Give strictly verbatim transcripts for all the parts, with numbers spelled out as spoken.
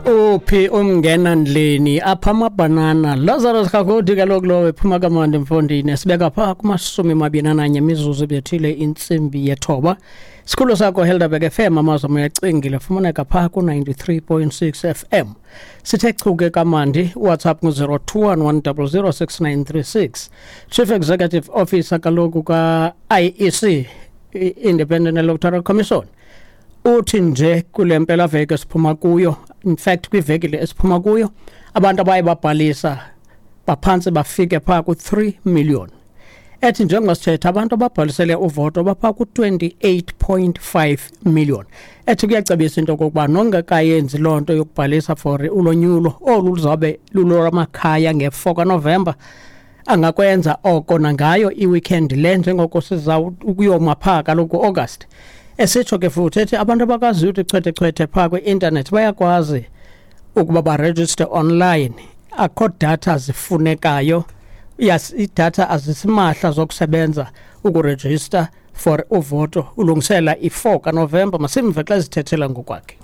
Uphi umngena ndleni apha amabhanana Lazarus Kagodi kaloku lowo ephuma kamandi mfondini sibeka phaa kumashumi mabini ananye imizuzu ebethile intsimbi yethoba. Sikhulu sakho Helderberg F M amazwi uyacingile fumaneka phaa ku-ninety-three point six F M. Sithe chuke kamandi WhatsApp ngu-zero two one one double zero six nine three six. Chief Executive Officer kaloku ka-I E C, Independent Electoral Commission, uthi nje kule mpelaveki esiphuma kuyo, in fact kwiveki le esiphuma kuyo, abantu abaye babhalisa baphantsi bafike phaa ku-three million. Ethi njengoba sithetha abantu ababhalisele uvoto baphaa ku-twenty-eight point five million. Ethi kuyacebisa into okokuba nongekayenzi loo nto yokubhalisa for ulonyulo olu luzawube lulolwamakhaya nge-four kaNovemba, angakwenza oko nangayo i-weekend le njengoko siza ukuyoma phaa kaloku August. Esitsho ke futhi ethi abantu abakwaziyo uthi chwethe chwethe phaa kwi-intanethi bayakwazi ukuba barejiste online. Akho data zifunekayo. Yes, idatha azisimahla zokusebenza ukurejista for uvoto ulungisela i-four kaNovemba. Masimve xa ezithethela ngokwakhe.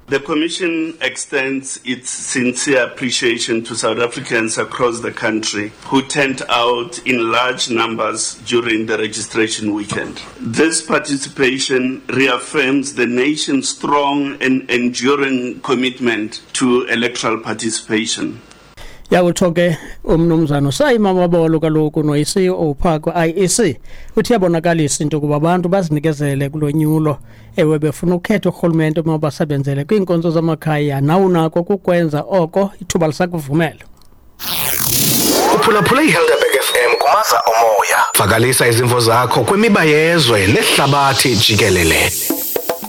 The Commission extends its sincere appreciation to South Africans across the country who turned out in large numbers during the registration weekend. This participation reaffirms the nation's strong and enduring commitment to electoral participation. Yakutsho ke umnumzana Saima Mabolo kaloku noyi-C E O phaa kwi-I E C uthi iyabonakalisa into yokuba abantu bazinikezele kulonyulo, ewe befuna ukhetha urhulumente omabasebenzele kwiinkonzo zamakhaya, nawunako kukwenza oko ithuba lisakuvumela. Uphulaphula iHelderberg F M kumaza omoya. Vakalisa izimvo zakho kwimiba yezwe nehlabathi jikelele.